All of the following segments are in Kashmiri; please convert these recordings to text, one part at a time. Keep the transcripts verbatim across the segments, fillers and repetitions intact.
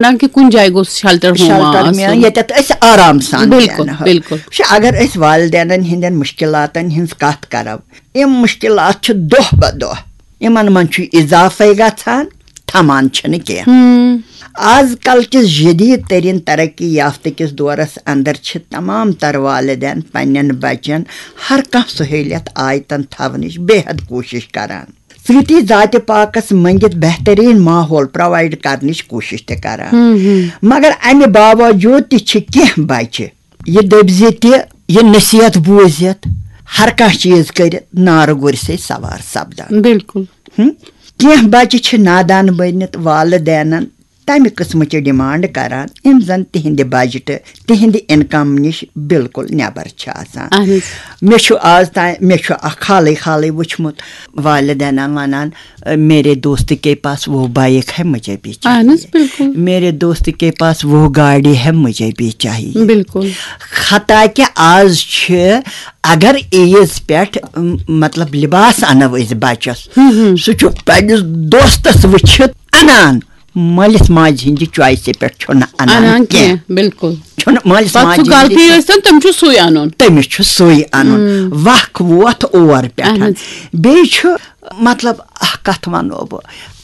نہ کہِ کُنہِ جایہِ گوٚژھ شیلٹر ہوم شیلٹر آسُن۔ میلُن، ییٚتٮ۪تھ أسۍ آرام سان بِلکُل، بیٚہن۔ بِلکُل۔ وٕچھ، اگر أسۍ والدینن ہٕنٛدٮ۪ن مُشکِلاتن ہٕنٛز کتھ کرو، یِم مُشکِلات چھِ دۄہ بہ دۄہ، یِمن منٛز چھُ اضافے گژھان، تھمان چھِنہٕ کینٛہہ۔ ہم۔ آز کل کِس جدید ترین ترقی یافتہٕ کِس دورس اندر چھِ تمام تر والدین پننٮ۪ن بچن ہر کانٛہہ سہوٗلیت آیتن تھاونٕچ بے حد کوٗشش کران۔ سۭتی ذاتِ پاکس منٛگِتھ بہتریٖن ماحول پرووائیڈ کرنٕچ کوٗشش تہِ کران۔ ہم، ہم۔ مگر امہِ باوجود تہِ چھِ کینٛہہ بچہِ یہِ دٔپۍ زِ تہِ، یہِ نصیحت بوٗزِتھ، ہر کانٛہہ چیٖز کٔرِتھ نارٕ گُرۍ سۭتۍ سوار سپدان۔ بِلکُل۔ ہم؟ کینٛہہ بچہِ چھِ نادان بٔنِتھ والدینن تمہِ قٕسمٕچہِ ڈیمانڈ کران، یِم زن تِہنٛدِ بجٹہٕ، تِہنٛدِ انکم نِش بِلکُل نٮ۪بر چھِ آسان۔ اہن حظ۔ مےٚ چھُ آز تام، مےٚ چھُ اکھ حالٕے حالٕے وُچھمُت، والدینن ونان، "میرے دوست کے پاس وہ بائیک ہے، مجھے بھی چاہیے۔ اہن حظ، بِلکُل۔ میرے دوست کے پاس وہ گاڑی ہے، مجھے بھی چاہیے۔" بِلکُل۔ حتیٰ کہِ آز چھِ، اگر عیٖز پٮ۪ٹھ، م، مطلب، لباس انو أسۍ بچس، ہم، ہم۔ سُہ چھُ پننِس دوستس وٕچھِتھ انان، مٲلِس ماجہِ ہٕنٛدِ چویسہِ پٮ۪ٹھ چھُنہٕ انان انان کینٛہہ۔ کینٛہہ، بِلکُل۔ چھُنہٕ مٲلِس پتہٕ ماجہِ سُہ ہٕنٛدِ غلطی ٲسۍتن، تِم چھِ سُے انُن۔ تٔمِس چھُ سُے انُن۔ ہم۔ وق ووت اور پٮ۪ٹھ۔ اہن حظ۔ بیٚیہِ چھُ، مطلب، اکھ کتھ ونو بہٕ،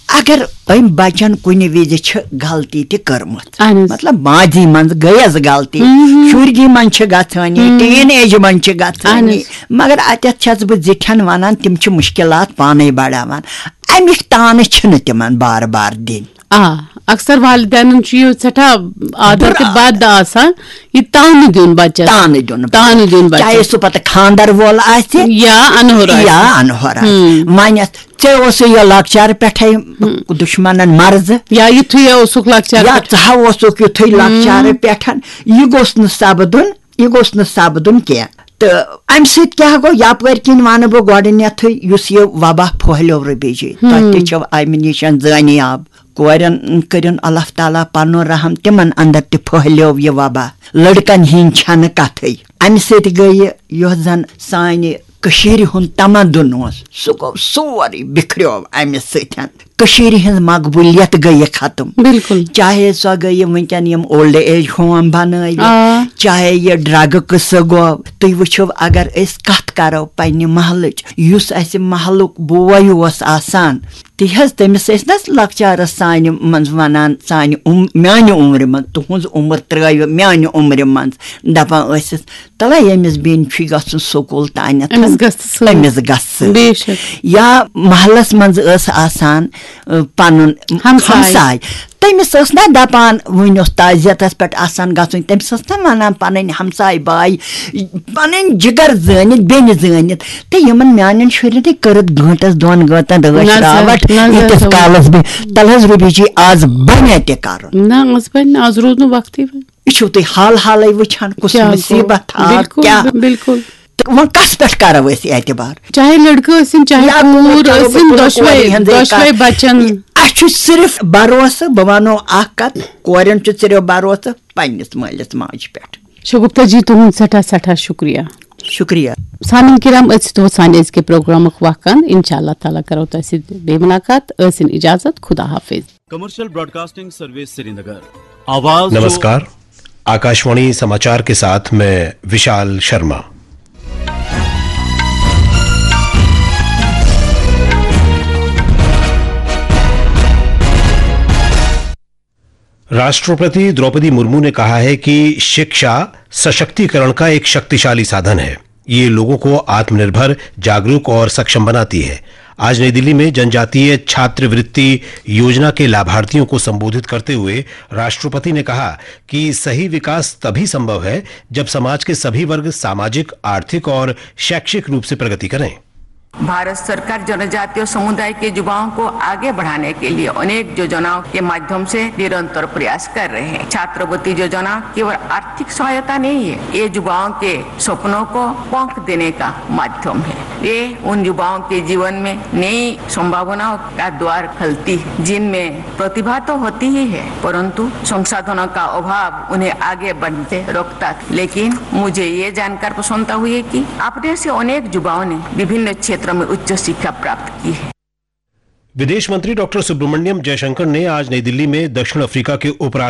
اگر أمۍ بچن کُنہِ وِزِ چھِ غلطی تہِ کٔرمٕژ، اہن حظ۔ مطلب، ماضی منٛز گٔیس غلطی، ہم۔ شُرگی منٛز چھِ گژھٲنی، ہم۔ ٹین ایجہِ منٛز چھِ گژھٲنی، اہن حظ۔ مگر اتٮ۪تھ چھس بہٕ زِٹھٮ۪ن ونان، تِم چھِ مُشکِلات پانے بڑاوان۔ اَمِکۍ تانہٕ چھِنہٕ تِمن بار بار دِنۍ۔ آ، اکثر والدینن چھُ یہِ سٮ۪ٹھاہ عادت بُرٕ تہٕ بد آسان، یہِ تانہٕ دیُن بچس۔ تانہٕ دیُن بچس۔ تانہٕ دیُن بچس۔ چاہے سُہ پتہٕ خاندر وول آسہِ یا انہُر آسہِ۔ یا انہُر آسہِ۔ ہم۔ وۄنۍ ژےٚ اوسُے یہِ لۄکچارٕ پٮ۪ٹھے ہم۔ دُشمنن مرضہٕ۔ یا یُتھُے یہِ اوسُکھ لۄکچارٕ یا پٮ۪ٹھ۔ ژٕ ہا اوسُکھ یُتھُے ہم۔ لۄکچارٕ پٮ۪ٹھ، یہِ گوٚژھ نہٕ سپدُن۔ یہِ گوٚژھ نہٕ سپدُن کینٛہہ۔ تہٕ امہِ سۭتۍ کیٛاہ گوٚو؟ یپٲرۍ کِنۍ ونہٕ بہٕ گۄڈٕنیتھٕے، یُس یہِ وبا پھٔہلیو ربی جی، تۄہہِ تہِ ہم۔ چھو امہِ نِش زٲنیاب۔ کورٮ۪ن کٔرِن اللہ تعالیٰ پنُن رحم، تِمن اندر تہِ پھٔہلیو یہِ وبا۔ لڑکن ہِنٛدۍ چھنہٕ کتھٕے۔ امہِ سۭتۍ گٔیہِ یۄس زن سانہِ کٔشیٖرِ ہُنٛد تمدُن اوس، سُہ گوٚو سورُے بِکھریو امہِ سۭتۍ۔ کٔشیٖرِ ہٕنٛز مقبولیت گٔیہِ ختم۔ بِلکُل۔ چاہے سۄ گٔیہِ وٕنکٮ۪ن یِم اولڈ ایج ہوم بنٲوِتھ، آ۔ چاہے یہِ ڈرگہٕ قصہٕ گوٚو۔ تُہۍ وٕچھِو، اگر أسۍ کتھ کرو پننہِ محلٕچ، یُس اسہِ محلُک بوے اوس آسان، تہِ حظ، تٔمِس ٲسۍ نہ لۄکچارس سانہِ منٛز ونان، سانہِ عم-، میانہِ عمرِ منٛز، تُہنٛز عمر ترٲوِ میانہِ عمرِ منٛز، دپان ٲسِس، تَلے ییٚمِس بیٚنہِ چھُے گژھُن سکوٗل تانٮ۪تھ، أمِس گژھِ سۭتۍ۔ أمِس گژھِ سۭتۍ۔ بے شک۔ یا محلس منٛز ٲس آسان، ٲ، پنُن ہمساے۔ ہمساے۔ تٔمِس ٲس نہ دپان، وُنہِ اوس تعزیتس پٮ۪ٹھ آسان گژھُن، تٔمِس ٲس نہ ونان پنٕنۍ ہمساے باے، پنٕنۍ جگر زٲنِتھ، بیٚنہِ زٲنِتھ۔ تہٕ یِمن میانٮ۪ن شُرٮ۪ن تہِ کٔرٕتھ گٲنٹس دۄن گٲنٹن رٲچھ نظر، راوٹھ، نظر ییٖتِس تھاوٕنۍ۔ کالس بہٕ، تلہٕ حظ رُبی جی، آز بنہِ تہِ کرُن۔ نہ، آز بنہِ نہٕ، آز روٗد نہٕ وقتٕے وۄنۍ۔ یہِ چھُو تُہۍ حال حالٕے وٕچھان، کُس کیٛاہ گوٚو؟ مُصیٖبت آو، بِلکُل، کیٛاہ؟ بِلکُل۔ تہٕ وۄنۍ کَس پٮ۪ٹھ کَرو أسۍ اعتبار؟ چاہے لٔڑکہٕ ٲسِن، چاہے یا کوٗر کوٗر کرو، ٲسِن، بہٕ کرو دۄشوے، کورِ ہِنٛزٕے دۄشوے کَتھ۔ بَچَن۔ اَسہِ چھُ صرف بھروسہٕ، بہٕ وَنو اَکھ کَتھ، کورٮ۪ن چھُ صرف بھروسہٕ پنٛنِس مٲلِس ماجہِ پٮ۪ٹھ۔ شگفتہ جی، تُہُنٛد سٮ۪ٹھاہ سٮ۪ٹھاہ شُکریہ۔ شُکریہ۔ سامعین کرام، أتھۍ سۭتۍ ووت سانہِ أزکہِ پروگرامُک وقت۔ انشاءاللہ تعالیٰ کرو تۄہہِ سۭتۍ بیٚیہِ مُلاقات۔ ٲسِن اجازت، خدا حافظ۔ Commercial Broadcasting Service Srinagar. आवाज जो नमस्कार, आकाशवाणी समाचार के साथ मैं विशाल शर्मा। राष्ट्रपति द्रौपदी मुर्मू ने कहा है कि शिक्षा सशक्तिकरण का एक शक्तिशाली साधन है। ये लोगों को आत्मनिर्भर, जागरूक और सक्षम बनाती है। आज नई दिल्ली में जनजातीय छात्रवृत्ति योजना के लाभार्थियों को संबोधित करते हुए राष्ट्रपति ने कहा कि सही विकास तभी संभव है, जब समाज के सभी वर्ग सामाजिक, आर्थिक और शैक्षिक रूप से प्रगति करें। भारत सरकार जनजातीय समुदाय के युवाओं को आगे बढ़ाने के लिए अनेक योजनाओं के माध्यम से निरंतर प्रयास कर रहे हैं। छात्रवृत्ति योजना केवल आर्थिक सहायता नहीं है, ये युवाओं के सपनों को पंख देने का माध्यम है। ये उन युवाओं के जीवन में नई संभावनाओं का द्वार खोलती है, जिनमें प्रतिभा तो होती ही है, परंतु संसाधनों का अभाव उन्हें आगे बढ़ते रोकता था। लेकिन मुझे ये जानकर प्रसन्नता हुई कि आप में से अनेक युवाओं ने विभिन्न क्षेत्रों में उच्च शिक्षा प्राप्त की है। विदेश मंत्री डॉक्टर सुब्रमण्यम जयशंकर ने आज नई दिल्ली में दक्षिण अफ्रीका के उपराष्ट्रपति